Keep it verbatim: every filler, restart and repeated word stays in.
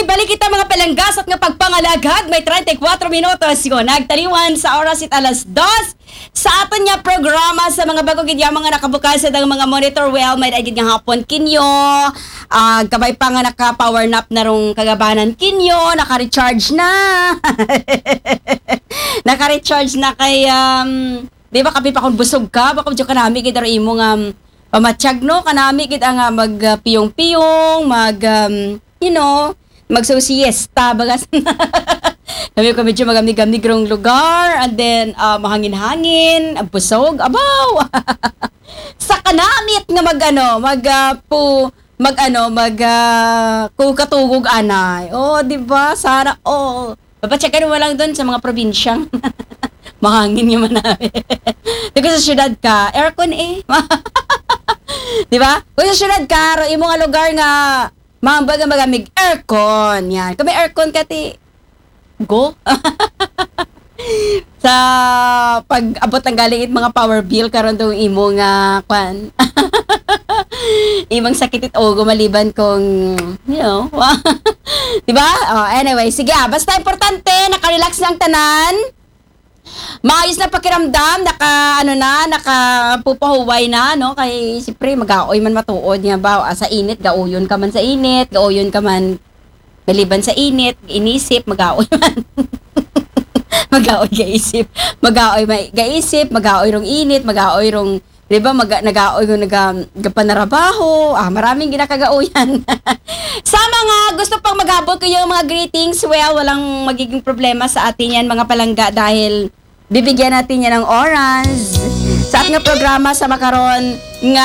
Balik kita mga palangga sa nga pagpangalagad, may treinta y cuatro minutos yung nagtaliwan sa oras it alas dos. Sa aton nga programa, sa mga bago gid nga mga nakabukas sa dang mga monitor, well, may daigid nga hapon kinyo. Ah, kabay pa nga naka-power nap na rong kagabanan kinyo, naka-recharge na. Naka-recharge na kay, um, di ba, kapi pa kung busog ka, baka medyo kanami gid aro imo nga, um, pamatyag, no? Kanami gid ang, ah, mag, ah, piyong-piyong, mag, um, you know, magsosiesta, bagas. Kami ko medyo magamig-gamig rong lugar, and then, ah, mahangin-hangin, ang busog, abaw! Sa kanamit nga mag, ano, mag, ah, pu-, mag, ano, mag, ah, kukatugog anay. Oh, di ba? Sana, oh. Papatyagan mo lang doon sa mga probinsyang mahangin nga manami. Di ko sa syudad ka, aircon eh. Di ba? Kung sa syudad ka, ro imo nga lugar nga maambag nga magamig aircon. Yan. Kung may aircon ka, ti, go. Sa pag-abot lang galing it mga power bill karon tong imo nga kwan. Imong sakit it ulo maliban kung, you know, di ba? Oh, anyway, sige ah. Basta importante, nakarelax lang tanan. Maayos na pakiramdam, naka, ano na, nakapupahuway na, no? Kay, siyempre, mag-aoy man matuod nga ba? Ah, sa init, gaoyon ka man sa init, gaoyon ka man maliban sa init, inisip, mag-aoy man. Mag-aoy gaisip. Mag-aoy may gaisip, mag-aoy rong init, mag-aoy rong, di ba, mag, nag-aoy rong naga, gapanarabaho. Ah, maraming ginakagaoyan. Sa mga gusto pang mag-abot ko yung mga greetings, well, walang magiging problema sa atin yan, mga palangga, dahil bibigyan natin yan ng oras. Sa ating programa sa makaron nga